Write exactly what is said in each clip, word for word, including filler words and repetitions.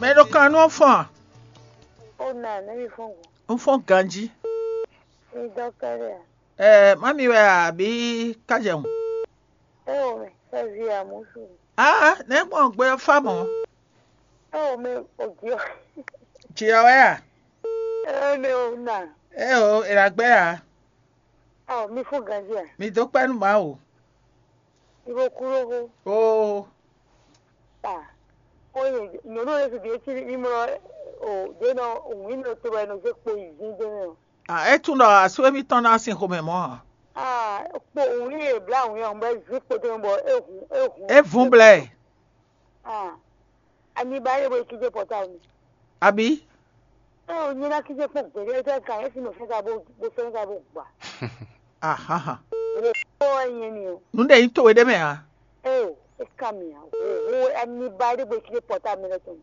Mɛ ɖo kan nú ɔ́ fɔ́n a? Ó na nɛ́ mi fɔ́n gɔ̌n. Un fɔ́n ganjí. Mi dɔn kɛ́ɖɛ́ a? Ɛɛ, má mi wɛ a, abǐ kájɛhun? É o mɛ, é vi a mǔ su. Aa, nɛ̌ gbɔn gbé ɔ́ fá mɔ̌? É o mɛ, o jǐ ɔ́. Jǐ ɔ́ wɛ a? É mɛ o na. É o, è nǎ gbɛ́ a? Ɔ, mi fɔ́n ganjí a? Mi dó kpɛ́ nú Mawu. Mi bo kú lóxo. Oo. Ah, ó nyɛ nyɔ̌nu ɔ́ ɖésú ɖě cí ní mlɔ́ o ɖě nɔ wǐn nɔ to wɛ nɔ zé kpo yi zín dó mɛ ɔ́. Ah, é tunwun ɖɔ asú émítɔn ná sin xomɛ mɔ̌ ǎ. Ah, kpo wǐn e blá wǐn ɔ́ bɔ é zí kpo dó mɛ bɔ é hun é hun. É vun blɛ́. Ah, ani ba é bo yi kíjé pɔtáwɔ mi. Abǐ? É o nyɛ ná kíjé kpɔ́n gběɖé é tɛ́ kan é sin nɔ fɛ́ ka bó bó fɛ́ ka bó gba. Ahanhan. Wo kpɔ́ wɛ nyɛ ni o. Nǔ ɖe nyí towe ɖé mɛ ǎ. É o, é ka mi ǎ. Wo wo ani ba é ɖé bo yi kíjé pɔtáwɔ mi lɛ́ tɔn.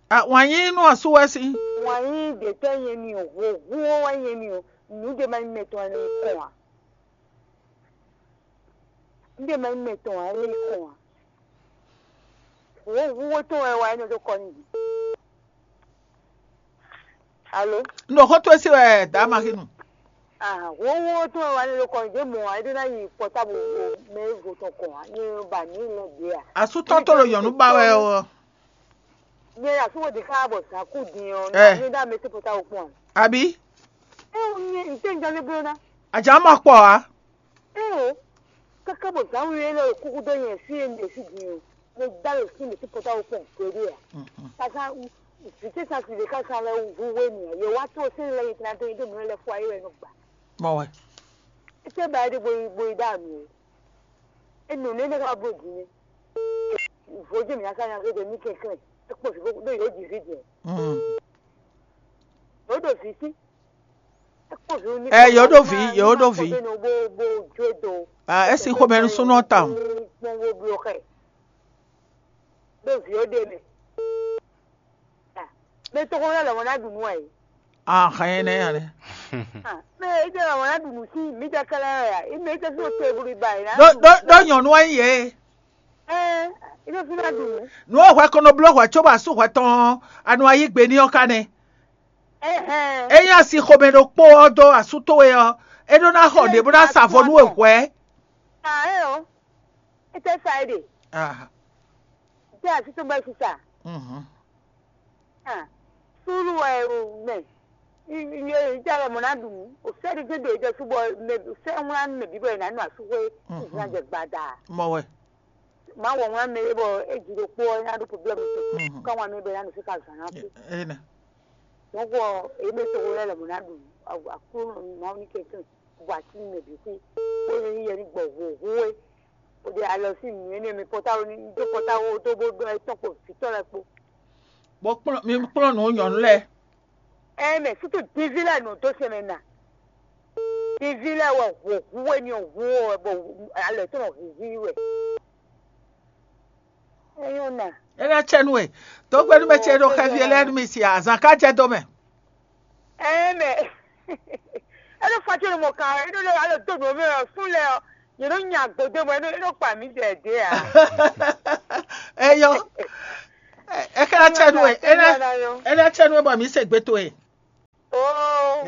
A wǎn yí nú asú wɛ sín. Wǎn yí ɖě tɛ́ nyɛ ni o, hu hu wɛ nyɛ ni o, nǔ ɖé ma nyí mɛ tɔn wɛ nɔ kɔn ǎ. Nǔ ɖé ma nyí mɛ tɔn wɛ nɔ kɔn ǎ. Hu hu wɛ tɔn wɛ wá nɔ dó kɔ n'i. Alo? Un ɖo xó towe sí wɛ dǎ Maxinu. Ah, hu hu wɛ tɔn wɛ wá nɔ dó kɔ n'i, dě mɔ ǎ, é ɖó ná yi pɔtábu mɛ e vo tɔn kɔn ǎ, nyɛ ba ní lɛ ɖě ǎ. Asú tɔn tó ɖo nyɔ̌nu ba wɛ ɔ́. Nyɛ ya sɔ́ ɖi xá bɔ zǎn kú din ɔ́, Ɛ. Nyɛ ɖo amɛ tɛ́ pɔtábu kpɔ́n ǎ. Abǐ? É o nyɛ ntɛ́njɔ lé bló ná. Ajǎ ma kpɔ ǎ. É o, káká bɔ zǎn wi élɔ́ ɖo kúkú dó nyɛ fí e un ɖe fí din ɔ́, nyɛ dó alɔ sín mɛ tɛ́ pɔtábu kpɔ́n gbeɖé ǎ. Káká vǐ ce sín asi ɖé ká sán lɛ́ hu wé n'i ǎ. Yě wá tó sɛ́n lɛ́ɛ nyɛ tɛná dó nyi dó mǐ lɛ́ fɔ ayé wɛ nɔ gbà. Mɔ wɛ. É tɛ́ ba é ɖe bo yi bo yi ɖó amǐ o. É nɔ nɛ́ nɛ́ ká bó din nɛ́. Vodún mǐ ná ká nya gbé ní kɛnklɛ́n. É kpɔ́n vǐ bó ɖó yǒ ji vǐ din. Mm. Yǒ ɖo vǐ sí. É kpɔ́n vǐ ní Ɛ, yǒ ɖo vǐ, yǒ ɖo vǐ. Bó bó jó do. Ah, é sí xomɛ nú súnú ɔ́ tawun. Kpɔ́n bó bló xɛ. Ɖó vǐ ó ɖe mɛ. Ah, mɛ tɔgɔn lɛ́ lɔmɔ ná ɖu nǔ ɛ. Ah, xɛ nyɛ nɛ́ nya lɛ. Ah, mɛ é jɛ lɔmɔ ná ɖu nǔ sí mǐ jɛ kɛlɛ ɛ. Mɛ é jɛ fí o to eblu ba yě ná. Ɖó ɖó ɖó nyɔ̌nu wɛ nyí yě. Ɛ, é jɛ fí ná ɖu nǔ. Nǔ e hwɛ ko nɔ bló hwɛ cóbɔ asú hwɛ tɔn anu ayí gbe ní ɔ́ ká nɛ́. Ɛhɛn. Ényí asi xomɛ ɖokpó ɔ́ dó asú towe ɔ́, é ɖó ná xɔ ɖě bó ná sa vo nú we hwɛ̌. Ah, é ɔ́, é tɛ sa é ɖe. Ah, Tɛ asi tó bɛ sisa. Mhm. Ah, sulu wɛ o mɛ. Iye ita lɛ mɔ na ɖu. O sɛ ɖi gbé do ejɔ subɔ mɛ sɛ ŋwla mɛ bi bɔ yɛ na nu asu hwe. Mhm. Ìgbìnà jɛ gbada. Mɔ wɛ. Ma wɔ ŋwla mɛ bɔ e ji ɖo kpɔ nya ɖo problème. Mhm. Kɔ ŋwa mɛ bɛ na nu fika zan na ku. Ena. Donc e mɛ to lɛ lɛ mɔ na ɖu. Aku ma ni kɛ kɛ. Bɔ ati mɛ bi ku. Ko ni yɛ ni gbɔ vo vo e. O de alɔ si nu ene mi pɔta o ni do pɔta o to bo dɔ etɔn ko vitɔ lɛ kpo. Bɔ kplɔn mi kplɔn nù nyɔnu lɛ. Ɛ mɛ sutu divi lɛ nɔ dó sɛmɛ na. Divi lɛ wɛ hu hu wɛ ni hu wɛ bɔ alɔ tɔn hu hu wɛ. Eyɔn na. Ena tsɛ nu e. Tó gbɛnu mɛ tsɛ ɖo xɛvi lɛ nu mi si azan ka jɛ dɔ mɛ. Ɛ mɛ. Eno fati le mɔ kan eno le alo to no mɛ o sun lɛ o. Yɛ no nya gbɔdɔ mɔ eno eno kpa mi dɛ de a. Eyɔn. Ɛ kɛ na tsɛ nu e. Ena tsɛ nu e bɔ mi se gbe to e. Oh.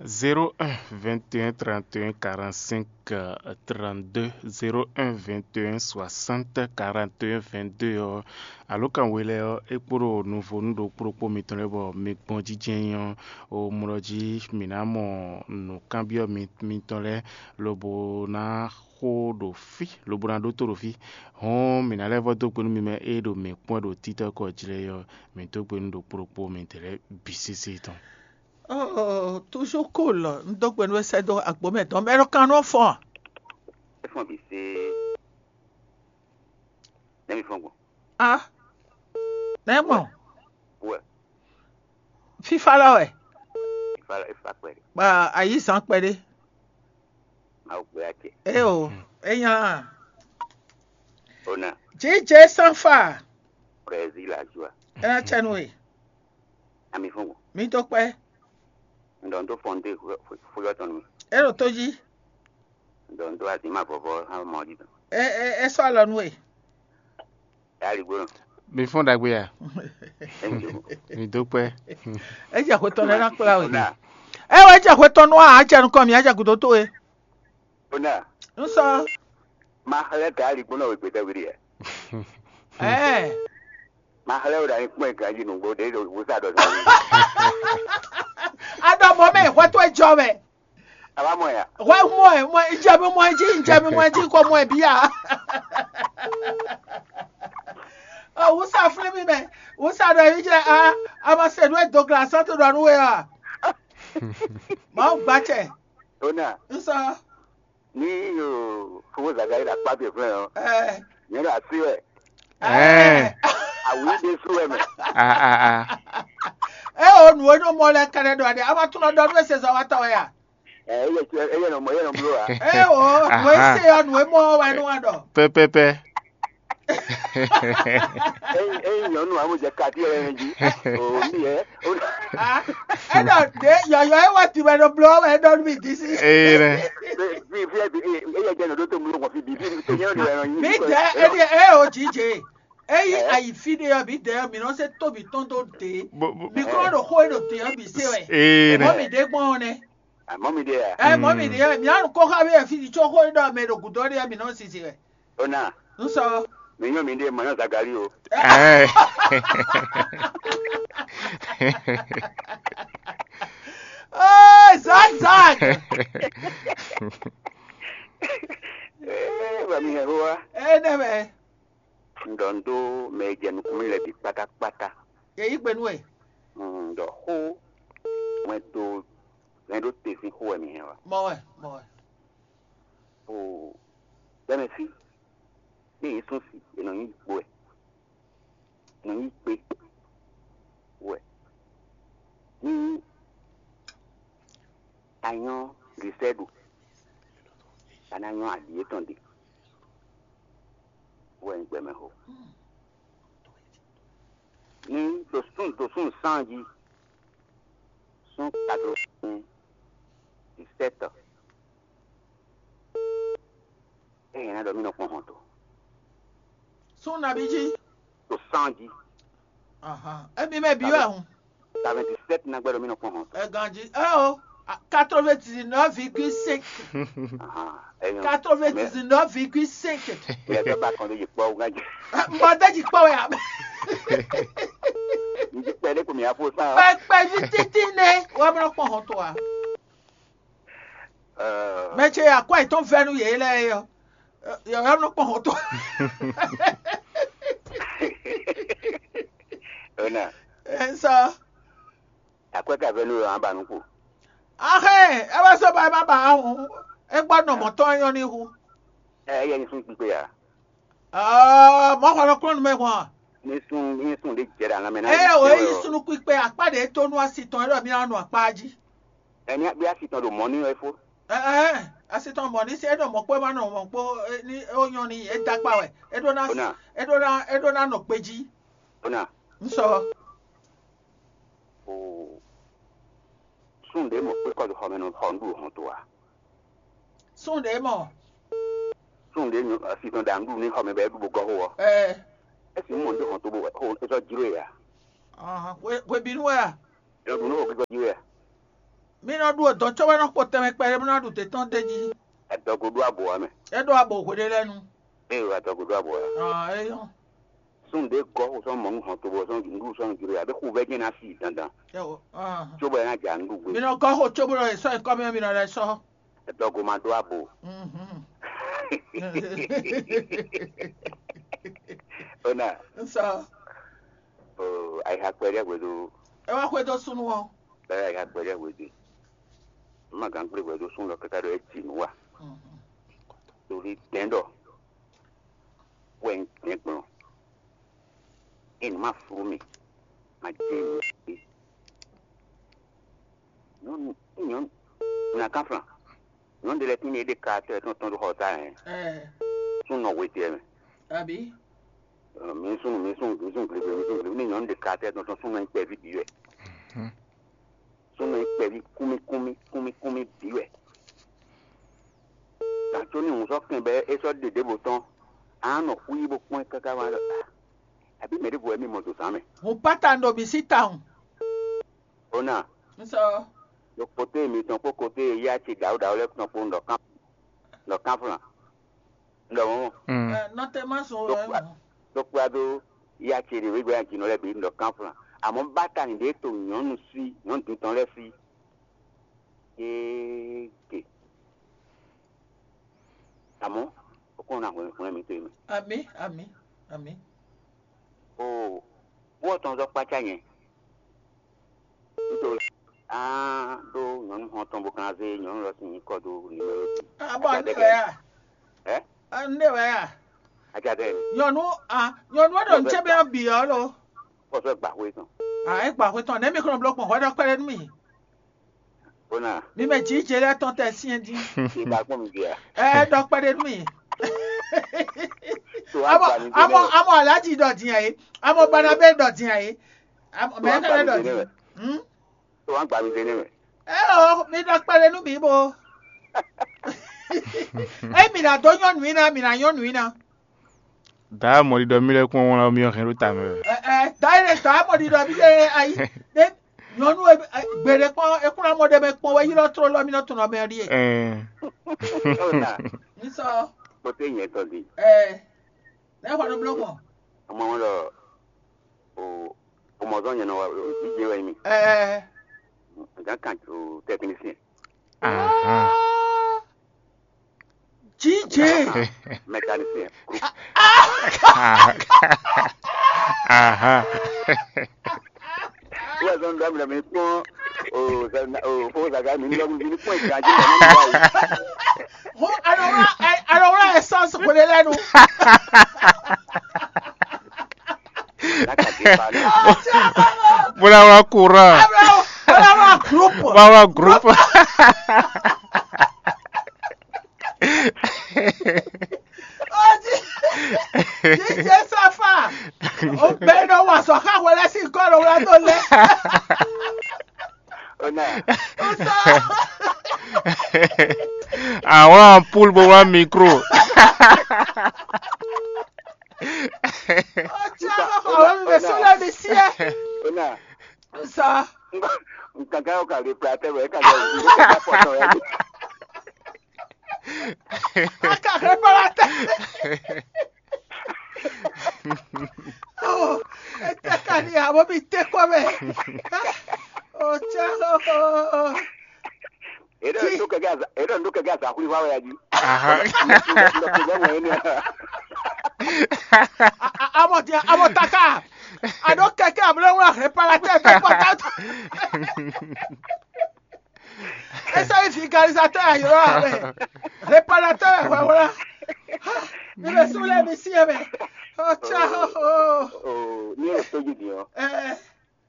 Zéro un vingt et un trente et un quarante-cinq trente-deux, zéro un vingt et un soixante quarante et un vingt-deux ɔ́, alo kan we lɛ́ɛ ɔ́, é kpo ɖo nuvo nú ɖokpó ɖokpó mitɔn lɛ́ɛ bɔ mi gbɔn jínjɛ́n ɔ́, o mlɔ jí mǐ ná mɔ nǔkanbyɔ́ mitɔn lɛ́ɛ, lobo ná xo ɖo fí, lobo ná ɖótó ɖo fí. Hɔn mǐ ná lɛ́ vɔ́ dó gbe nú mi mɛ e ɖo mǐ kpɔ́n ɖo títɔ́ kɔ jlɛ́ ɔ́, mǐ dó gbe nú ɖokpó ɖokpó mitɔn lɛ́ɛ bǐ sésé tɔn. Oh, toujours cool. Un dó gbe nú we sɛ́ dó agbǒ mɛ dɔn mɛ ɖo kan nɔ fɔn. É fɔn bǐ sé. Nɛ́ mi fɔn gbɔn? Ah, nɛ́ mɔ? Wɛ. Fífá lɔ wɛ. Ìfà ìfà pẹ̀lú. Ba ayizan kpɛɖé. Máa gbé àjẹ. É o, é nya. Ona. Jíjẹ sanfa. Brésil la joie. É ná tsɛ nú we. Ami fún wọn. Mi tó kpɛ. Ǹdọ̀ ń tó fọ́n dé fúyọ́ tɔn nù. É ɖo tó jí. Ǹdọ̀ ń tó àti má vɔvɔ hán mọ́ jí tɔn. É é é sɔ́ alɔ nú we. Ẹ á lǐ gbóná. Mi fún ɖagbe ya. Mǐ dó kpɛ́. É jɛ xwe tɔn lɛ́ɛ ná kplá we. Ona, É wɛ é jɛ xwe tɔn nú a, a jɛ nukɔn mǐ, a jɛ gǔdo towe. Ona, Un sɔ. Ma xlɛ́ ka aligbónɔ we gbɛtɛ́ we ɖe. Ɛɛ. Ma xlɛ́ we ɖo anyikpɔ́n e ganjí nǔgbó ɖě ɖo wúsá ɖɔ sɔ́. A ɖɔ mɔ̌ mɛ, hwɛ towe jɔ mɛ. A wá mɔ ya? Hwɛ mɔ ɛ, mɔ ɛ, jɛ mi mɔ ɛ jí, jɛ mi mɔ ɛ jí, ko mɔ ɛ bíyà. Ɔ, wúsá flí mi mɛ, wúsá ɖɔ yí jɛ a, a ma se nú e dogla sɔ́ to ɖɔ nú we ɔ. Mawu gbacɛ. Ona, Un sɔ. Ní o fowó zǎgá yi ɖo akpá ce flɛ́n ɔ́, Ɛ. Nyɛ ɖo así wɛ. Ɛɛ. Awǐ ɖé sú wɛ mɛ. A a a. E o nǔ e nɔ mɔ lɛ kɛnɛ ɖɔ ɖe, a ma tunɔ ɖɔ nú e se zɔn wa tɔn wɛ a? Ɛ, eyɛ eyɛ nɔ mɔ eyɛ nɔ bló wa. E o nǔ e Aha. Se ɔ nǔ e mɔ wɛ nú wa ɖɔ. Pɛpɛpɛ. Eyi eyi nyɔnu amu jɛ kati yɛ yɛ jí. O mi yɛ. A, e ɖɔ ɖe yɔyɔ e wa ti wɛ nɔ bló wɛ e ɖɔ nú mi di si. Ee nɛ. Fi fi fi eyɛ jɛ nɔ ɖó to mlu kɔn fi bi fi fi nyɛ ɖo yɛ nɔ nyi. Mi dɛ e ɖi e o jije. Eyi ayi fi ɖe ɔ, mi dɛ ɔ, mi nɔ se tóbi tɔn dó de. Bo- bo- Mi kɔ ɖo xó e ɖo te ɔ, mi se wɛ. Ee Mɔ nɛ. Mi ɖe gbɔn ɔ nɛ. Àmọ́ mi ɖe à. Ɛ mɔ mi ɖe ɔ, mi anu kó xa mi fi tso xó e ɖɔ mɛ ɖo gǔdo ɖe ɔ, mi nɔ sisi wɛ. Ó nà, N sɔ. Mi nyɔ́ mi ɖe mɔ̌ nyɔ́ Zagali o. Ɛɛ. Ee, Zag Zag. Ee, wà mí hɛn xó wá. Ee, nɛ mɛ. Un ɖɔ un ɖó mɛ e jɛ nukún mì lɛ́ɛ bǐ kpátákpátá. Yě yí gbe nú we. Un ɖɔ xó wɛn dó hɛn ɖó te sín xó wɛ mǐ hɛn wá. Mɔ wɛ, mɔ wɛ. O gbɛmɛ fí, ní yě sún sí, è nɔ nyí kpo wɛ, è nɔ nyí kpé wɛ. Ní a nyɔ́ Glisɛ́du, a ná nyɔ́ aɖǐ étɔn ɖe, wɛ nyí gbɛmɛ xó. Ní ɖo sún ɖo sún sán jí, sún quatre-vingt-dix-sept. Eye ná ɖɔ mí nɔ kpɔn hɔn to. Sún nabí jí? To sán jí. Ahan. Emi mɛ bí wɛ hun. Quatre-vingt-dix-sept ná gbɛdɔ mí nɔ kpɔn hɔn to. Ɛ ganjí. Ɛ o. Quatre-vingt-dix-neuf virgule cinq. Ahan. Ɛ nyɔ. Quatre-vingt-dix-neuf virgule cinq. Ilẹ̀ tó bá kan ló yẹ kpọ́ wọ́n jẹ. Mɔdé jí kpɔ́ wɛ a. Ǹjẹ́ pẹ̀lú kò mí àpò sá. Pẹpẹ yìí títí ní. Wọ́n mìíràn pọ̀ hàn tó wa. Mɛ ce ya kɔ etɔn vɛ nú yě lɛ́ɛ é ɔ́, yɔ̌yɔ́ nɔ kpɔn hɔn tɔn. Ona, Ɛ sɔ. Akwɛ́ ka vɛ nú yɔ̌yɔ́ ba nú kpo. Axé, ɛ wá sɔ ba ɛ má ba ahun. É gbɔ nɔ mɔ̌ tɔn nyɔ́ ní hu. Ɛ yɛ ní sún kpíkpé ya. Ɔɔ, mɔ̌ xɔ nɔ kplɔ́n nú mɛ hɔn. Ní sún ní sún ɖé jɛ ɖe alán mɛ ná. Ɛ o é yi sunu kpíkpé akpá ɖě tó nú asi tɔn é ɖɔ mí ná nɔ akpá jí. Ɛ ní bí asi tɔn ɖo mɔ̌ ní wɛ fó. Ɛɛ, asi tɔn mɔ̌ ní sɛ é ɖɔ mɔ̌ kpó é má nɔ mɔ̌ kpó ní é ó nyɔ́ ní é dó akpá wɛ. É ɖó ná Ó ná. É ɖó ná é ɖó ná nɔ kpe jí. Ó ná. Ń sɔ. O sún ɖě mɔ kpé kɔ xɔ mɛ nɔ xɔ nǔɖuɖu hɔn to a? Sún ɖě mɔ. Sún ɖě asi tɔn ɖa nǔɖuɖu ní xɔ mɛ bɔ é ɖu bó gɔ́ xó ɔ́. Ɛɛ. Esi mɔ ní hɔn to bó xó é sɔ́ jló e a? Hwebínú wɛ a? Nɔ ɖu nú xó kíkɔ jí wɛ a? Mi nɔ ɖu odɔ̌ cóbɔ é nɔ kpo tɛnmɛ kpɛɖé bó ná ɖu dě tɔn d'é jí. Adɔgo ɖó abo ɔ́ mɛ. É ɖó abo hweɖé lɛ́ɛ nu. Ée wa adɔgo ɖó abo ɔ́. Ɔ́, é nyɔ́. Sún ɖě gɔ́ xo sɔ́ mɔ nú hɔn to bɔ sɔ́ nǔɖuɖu sɔ́ nɔ jló ya, bó xu vɛ́ jɛ́n ná sí dandan. Cóbɔ é ná ja nǔɖuɖu gbé. Mi nɔ gɔ́ xo cóbɔ è sɔ́ nyǐkɔ mì ɔ́, mi nɔ lɛ́ sɔ́. Adɔgo ma ɖó abo. Ona. N sɔ. Ayixa kpɛɖé hwedó. É wá xwedó súnnu ɔ́. Bɛ́ ayixa kpɛɖé hwedó. Má gǎn gblé hwedó súnnu lɔ káká ɖɔ é ji nǔ wa. Torí dɛ̌n ɖɔ wɛ un dɛ̌n gblɔn. Ényí má flú mì, má jɛ nǔ. Nyɔ̌nu, nyɔ̌nu, nǎ kánflán. Nyɔ̌nu ɖé lɛ́ɛ tín e ɖe ka tɔn tɔn ɖo xɔ ta hɛn. Súnnu nɔ hwetɛ́ mɛ. Abǐ? Mǐ súnnu, mǐ súnnu, mǐ súnnu gligbe, mǐ súnnu gligbe. Ní nyɔ̌nu ɖe ka tɔn tɔn súnnu nyí kpɛví bǐ wɛ. Súnnu nyí kpɛví kúnmí kúnmí kúnmí kúnmí bǐ wɛ. Gǎn có ní hǔn sɔ́ kɛn bɔ é sɔ́ ɖe ɖěvo tɔn, a nɔ xwí bó kpɔ́n ɛ káká wá ɖɔ Abǐ mɛ ɖěvo wɛ mì mɔ ɖo zǎn mɛ? Hǔn Patan ɖo mǐ sí tawun. Ona, Un sɔ ɖo kote mitɔn kpó kote yá ce ɖǎwúɖǎwú lɛ́ɛ tɔn kpó un ɖɔ kán un ɖɔ kánflán. Un ɖɔ mɔ̌ mɔ. Mm. Nɔtɛma sɔn Ɖo wɛ kpla- mɔ. Ɖo kpla dó yá ce ɖě wégbé ajínɔ lɛ́ɛ bǐ un ɖɔ kánflán. Àmọ́ bátani ɖě to nyɔ̌nu sí nyɔ̌nu dintɔn lɛ́ɛ sí. Yéé ke. Àmọ́ ó kɔn ná hwlɛ́n hwlɛ́n mi to é mɛ. Ami, ami, ami. O wó tɔn zɔ kpácá nyɛ. Nítorí á ɖó nyɔ̌nu xɔn tɔn bó kan zé nyɔ̌nu lɔ sín nyǐkɔ dó nǔmɛ́. Abɔ ne wɛ ya? Ɛ? Ne wɛ ya? Ajadɛ. Nyɔnu a nyɔnu e ɖo nú ce mɛ ɔ́ bǐ ɔ́ lo. Kɔsɔ gbà xwé tɔn. A é gbà xwé tɔn nɛ̌ mi kɔn bló gbɔn hwɛ ɖɔ kpɛɖé nú mi. Bona. Mi mɛ jǐ jɛ lɛ́ɛ tɔn tɛ syɛn dín. Ìgbà gbọ́n mi bíà. Ɛ ɖɔ kpɛɖé nú mi. So Amɔ agba mi amɔ délé. Amɔ alájì ɖɔ dín ayé. Amɔ Banabe ɖɔ dín ayé. Amɔ So mɛ agba kɛlɛ mi ɖɔ délé dín. Wɛ. Hmm? So agba mi délé wɛ. Ɛ o mi ɖɔ kpɛɖé nú mi bo. Ɛ mi ná dó nyɔnu yín ná mi ná nyɔnu yín ná. Dǎ mɔɖiɖɔ mì lɛ́ɛ kpɔ́n wlán mì ɔ́ hɛn ɖó ta mɛ wɛ. Ɛ ɛ dǎ e dǎ mɔɖiɖɔ mì lɛ́ɛ ayi ɖé nyɔnu e gbeɖé kpɔ́n e kún ná mɔ ɖé mɛ kpɔ́n wɛ ylɔ́ tlóló mì nɔ tunɔ mɛ ɔ́ ɖíe. Ɛɛ. Ona, Mi sɔ kpɔtɛ nyɛ tɔ di. Ɛ lɛ́ xɔ nú bló gbɔn. Ọmọ wọn lọ o ọmọ zɔn nyɛ nɔ wa o jíjẹ wɛ mi. Ɛ ɛ Gán kan o technicien. Ahan. Jíjẹ. Mécanicien. Ahan. Wọ́n sọ ń dá mi lẹ́mí kpọ́n o fowó zaga mi ní lọ́gùn mi ní pọ́n ìgbà jẹ́ ìgbà náà. Hɔn alɔwla alɔwla essence kò lè lẹ́nu. Lákàtí pa ní. Bóyá wọ́n kúrò. Alɔwla group. Báwa group. Jíjẹ sáfà. Ó bẹ́ẹ̀ náà wà sọ káwọn lẹ́sìn kọ́ lọ́wọ́ tó lẹ́. Ó sọ. Àwọn ampoule bó wá micro. Ó jẹ́ àwọn ọmọ mi bẹ̀ sọ́lá mi sí ẹ. Ó sọ. Nǹkan kan yóò kà lè pe àtẹ̀wé kà lè rí nípa pọ̀tọ̀ ẹ̀. Aka réparateur. Oh, ete ka ni abo mi te kɔ mɛ. Oh, tiens. Eɖɔ ndo kɛkɛ aza eɖɔ ndo kɛkɛ aza xwli wa wɛ aji. Aha. Ndo kɛkɛ mɔ ene. Amo dia amo taka. Ado kɛkɛ ablo wa réparateur de pata. Esa yi vulgarisateur ayo wa. Réparateur wa wala. Mi le sule mi si eme. Oh cha. Oh, ni o soji di o. Eh.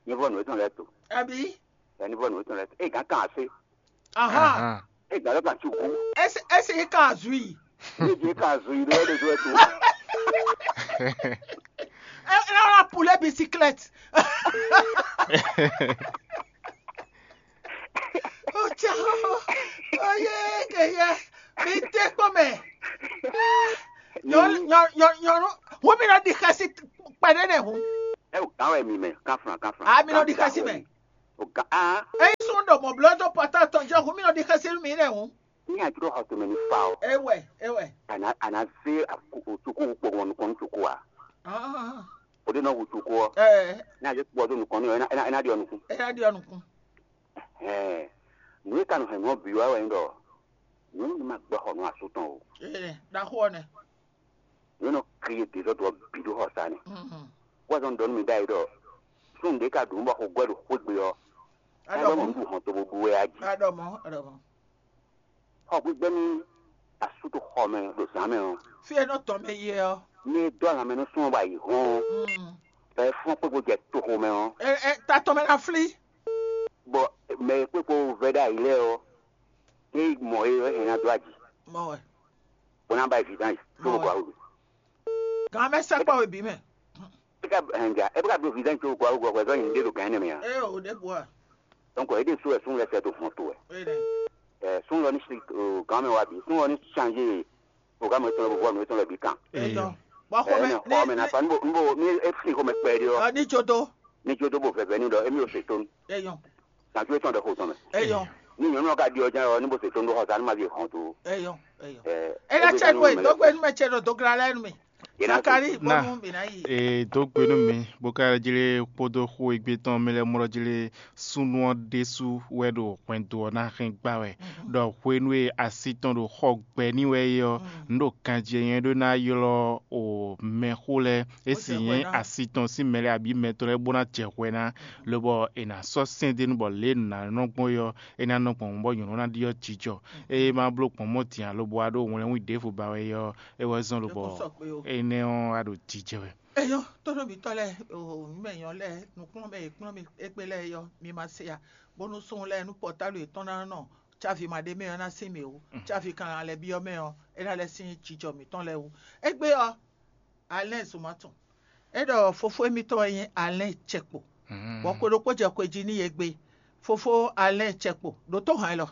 Ni vo no to le to. Abi. Ni vo no to le to. E gan kan ase. Aha. Ega lɔ ka tsuku. Esi esi yi ka zui. Ege ka zui ɖe ɖe ɖe tu. Ela la pule bicyclette. Otsa. Oye ke ye. Mi te kpɔ mɛ. Nyɔ nyɔ nyɔ nyɔ. Wo mi nɔ di xɛsi kpɛɖe ne hu. E o kan wɛ mi mɛ kan flan kan flan. A mi nɔ di xɛsi mɛ. O kan a. Eyi sun ɖo mɔ blɔ́ dó pɔtá tɔn jɛ hu mi nɔ di xɛsi mi ne hu. Ní àjọ ọ̀tún mi ní fa ọ. Ewɛ ewɛ. Àná àná zé òtúkú pọ̀ wọn nìkan ní tòkó wa. Ah. O de náà wò tòkó ọ. Ẹ Ní àjọ pọ̀ ọdún nìkan ní ẹ ná di ọ̀nùkún. Ẹ ná di ọ̀nùkún. Ẹ nù yìí kanu hẹn nù bì wá wẹ̀ ń dọ̀. Nù ní ma gbẹ xɔ nù asú tán o. Ẹ ɖaxó ọ nɛ. Nù nɔ kiri dèzɔ dɔ bì ɖó xɔ sa ni. Mhm. Wọ́n zɔn dɔnú mi dá yìí dɔ. Sún de ka dùn bɔ xɔ gbẹ ɖo xwé gbe ọ. Ẹ Adɔ bɛ mɔ. Mɔ nù hɔn tó bó bu wɛ aji. Adɔ mɔ adɔ mɔ. Xɔ gbígbɛ́ ní asú tó xɔ mɛ ɖo zǎn mɛ ɔ́, Fí e nɔ tɔn mɛ yi ɛ ɔ́. Ní é dó alǎ mɛ nú súnmọ́ bɔ ayǐ hɔ́n ɔ́, Mm. Bɔ é fɔ́n kpégbó jɛ toxo mɛ ɔ́, Ɛ ɛ ta tɔn mɛ ná flí. Bɔ mɛ e kpékpo vɛ́ ɖó ayǐ lɛ́ɛ ɔ́, ní mɔ é ɔ́, é ná dó aji, Mɔ wɛ. Bó ná ba yi vǐ dán yi, tó Mɔ bó wɛ. Gɔ́ awu. Gǎn mɛ sɛkpɔ́ we bǐ mɛ. É ká hɛn ja, é bó ká dó vǐ dán yi, tó bó gɔ́ awu gɔ́ hwɛzɔ́ nyi ɖé ɖo gǎn énɛ́ mɛ ǎ. É o ɖěbǔ a. Donc é ɖésú wɛ súnnu lɛ́ɛ sɛ́ dó hɔn to wɛ. É nɛ. Ɛ, súnnu lɔ ní si o gǎn mɛ wá bǐ, súnnu lɔ ní changé programme yětɔn lɛ́ɛ bó vɔ nǔ yětɔn lɛ́ɛ bǐ kan. É Eyo. Dɔn. Bɔ xɔmɛ Ɛɛ, xɔ mɛ na fa nubo nubo mi efi xɔmɛ kpɛ ɖi ɔ. Ní tso tó. Ní tso tó bo vɛvɛ ní ɖɔ émi ò se tónu. Eyɔn. Nàtú etɔn ɖe xo tɔn mɛ. Eyɔn. Ní nyɔnu ɔ́ ka ɖi ɔ́ jɛ́n ɔ ní bo se tónu ɖó xɔ sa ní ma vi hɔn tó. Eyɔn. Eyɔn. Ɛɛ, Ena tsɛ nwe dɔgbe nu mɛ tsɛ ɖɔ dɔgla lɛ nu mi. Yena Sakari bonu mi na yi. Ee, dó gbe nú mi bó ka jlé kpódó xó égbé tɔn mɛ lɛ́ɛ mɔ ɖɔ jlé súnnu ɔ́ ɖésú wɛ ɖo hwɛndo ɔ́ ná hɛn gbá wɛ. Ɖɔ hwenu e asi tɔn ɖo xɔ gbɛ ní wɛ é ɔ́, un ɖo ganjí e nyɛ ɖó ná ylɔ́ o mɛxó lɛ́ɛ, é sì nyí asi tɔn sín mɛ lɛ́ɛ abǐ mɛ tɔn lɛ́ɛ bó ná jɛ hwɛ ná, lobɔ è nǎ sɔ́ sɛ́n d'é nu bɔ lě e nǔ ná nɔ gbɔn é ɔ́, é ná nɔ gbɔn bɔ nyɔ̌nu ná ɖyɔ́ jijɔ. Eye ma bló gbɔn mɔ din alo bó wá ɖó wlɛnwí ɖěvo ba wɛ é ɔ́, é wɛ zɔ́n lobɔ énɛ́ ɔ́ wá ɖo jijɛ wɛ. Eyɔn tɔnɔ mitɔ lɛ o mɛ yɔn lɛ nukplɔn mɛ ekplɔn mi egbe lɛ yɔ mi ma se ya bonu sɔn lɛ nu pɔtalu etɔn na nɔ tsavi ma ɖe mɛ ɔ́ na sin mi o tsavi kan alɛ bi ɔ́ mɛ ɔ́ é na lɛ sin jijɔ mitɔn lɛ o egbe ɔ́ alɛ zuma tɔn e ɖɔ fofo emitɔn wɛ nyi alɛ cɛkpo bɔ ko ɖokpo jɛ ko jí n'i egbe fofo alɛ cɛkpo ɖo tó hàn lɔ